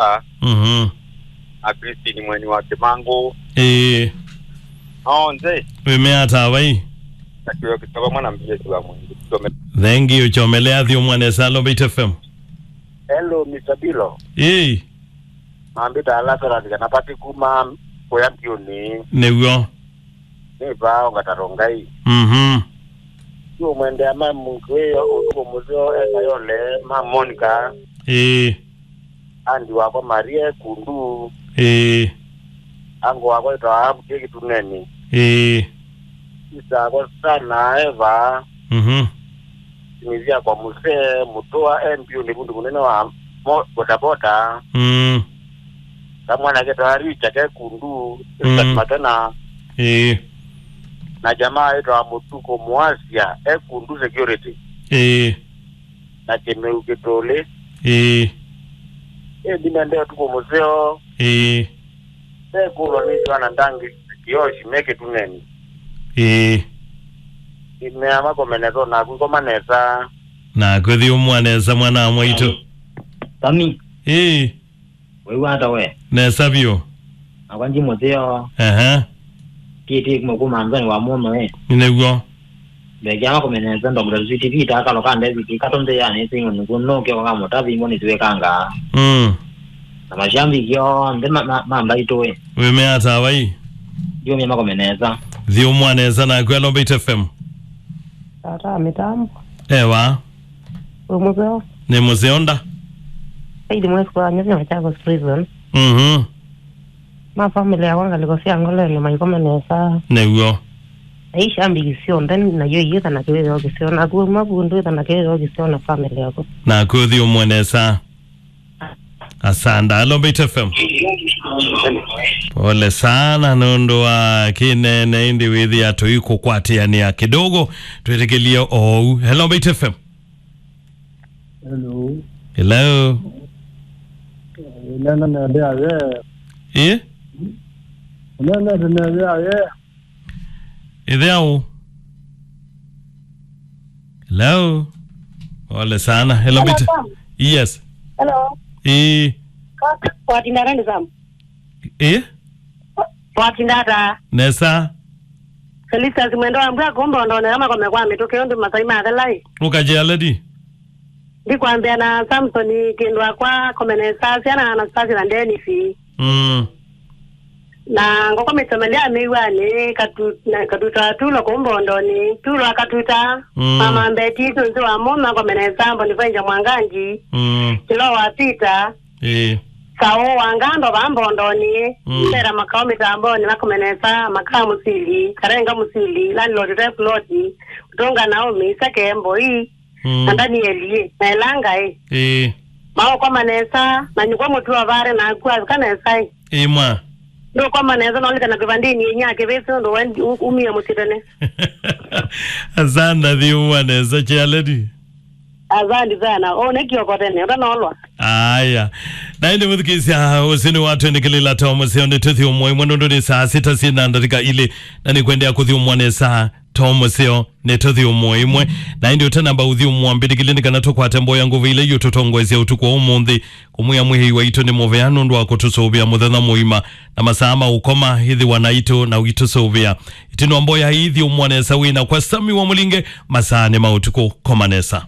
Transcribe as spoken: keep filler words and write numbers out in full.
Mbosa, Mhm. na Christine Mweni wa Kimangu. Ĩĩ. Onthe. Wĩmea ta vai? Na kĩo kĩtava mwana mbia kiwa mwingi. Thank you, Chomele, athi ũmwanesa, Lombeit F M. Hello, Mister Bilo. Ĩĩ. Mambĩta Lazarus kana Pati kuma kũya Mbiũnĩ. Nĩw'o. Nĩ vaa ũngatato Ngai. Mhm. Nĩũmwendea ma mũndũ ĩyo ũtukũ mũseo ekayole ma Monica. Ĩĩ. Andi wakwa Maria e Kundu. Ĩĩ. Ango wakwa ĩtawa Abuke Kituneni. Ĩĩ. Sista akwa Sana Eva. Mhm. Simithia kwa Muse Mutua e Mbiũnĩ vundu mũnene wa mo- bodaboda. Mm. Kamwana ketawa Richa ke Kundu, Richard Mm. Matena. Ĩĩ. Na jamaa ĩtawa Mutuko Muasia e Kundu security. Ĩĩ. Na Kĩmeu Kĩtũlĩ. Ĩĩ. Ĩĩ, ndimendea ũtukũ mũseo. Ĩĩ. Ndekulwa nĩ Joana Ndangi Kioshi me Kĩtuneni. Ĩĩ. Imea makomenetwa naku ikoma nesa. Naku thi ũmwa nesa mwana wa mwaitũ. Sami. Ĩĩ. Wĩw'a ata we? Nesa vyũ. Nakwa ndi mũseo. Ehe. Titi kuma kuma nzani wa mũno e. Nĩw'o. Mbekea makomenetwa Doctor Sweet Peter akalo ka David kato nthĩ ya nĩsĩ ng'ũnĩ kũnũke kwa mũtavi mboni tuwekanga. Mm. Na mashabiki onthe ma- ma- mambaitũe. Wĩmea ta vai? Ndiũmia makomenetwa. Thi ũmwa nesa naku, Lombeit F M. Tata mĩtambo. Ewa. Wĩ mũseo? Nĩ mũseo nda. Saidi mwesi kwa nyuthi Machakos Prison. Mhm. Ma family yakwa ngalĩko sya ngoleni maikome nesa. Nĩw'o. Aisha mbiki syonthe nayo iyĩtha na kĩwĩthĩo kĩseo. Naku mavundu ĩtha na kĩwĩthĩo kĩseo na family yaku. Naku thi ũmwe nesa. Asanda. Hello, Mbaitu F M. Pole sana nũndũ wa kĩnene, ĩndĩ wĩthĩa tũikũkwatĩanĩa kidogo. Twĩtĩkĩlie oou. Hello, Mbaitu F M. Hello. Hello. Nena nende aye. Eh? Nena nende aye. Ĩthĩaũ? Hello? Pole sana. Hello, Mbaitu. Hello, Sam. Yes. Hello. Ĩĩ. Ka- Watinda nani, Sam? Ĩĩ? Watinda ata? Nesa. Felicitas Mwendo wa Mbua kumba ondone kama kome kwa mĩtũkĩ ũndũ masai mathelai. Ũkajea lady. Ndikwambĩa na Samson kĩndũ akwa komenesa syana Anastasia na Dennis. Mm. Na ngoko mĩtsemele ya mĩw'anĩ, katu-, na katuta tulo kũu Mbondoni, tulo akatuta, Mm. mama mbeti tunzi wa mũma komenesa Boniface Mwangangi, Mm. kilo wa Peter, Ĩĩ. Saũ wa Ngando va Mbondoni, Mm. Mbera makao mĩtamboni makomenesa, makaa mũsili, karenga mũsili, landlord te ploti, Utonga Naomi, Seke Mboi, Mm. na Danieli, na Elangai. Ĩĩ. Maũkoma nesa, na nyũkwa mũtu wa vare na aku avika nesa ĩ. Ĩĩ mwa. Ndũkoma nesa, nolika na kĩvandĩnĩ inya kĩvĩsĩ ũndũ we u-, umie mũsyĩ tene. Asanda thiumwa nesa, chair lady. Asandi sana. Ũne kioko tene, ũtanolwa. Aya. Na ĩndĩ mũthikĩsya ũsini wa twendekĩlĩla ta mũseo nĩ tũthi ũmwe ĩmwe nũndũ nĩ saa sita syĩ na ndatĩka ilĩ, na nĩ kwendea kũthi ũmwe nĩ saa ta mũseo nĩ tũthi ũmwe ĩmwe. Na ĩndĩ ũtanamba ũthi ũmwe mbĩtĩkĩlye nĩ kana tũkwate mboya ngũvĩ ila iũtũtongoesya ũtukũ wa ũmũnthĩ, kũmwĩa mwĩhĩi waitũ nĩ mũvea nũndũ wa kũtũsũvĩa mũthenya mũima na masaa ma ũkoma ĩthĩwa naitũ na ũitũsũvĩa. Ĩtino mboya ĩthi ũmwe nesa wĩna kwa Sami wa Mũlinge masaa nĩ ma ũtukũ koma nesa.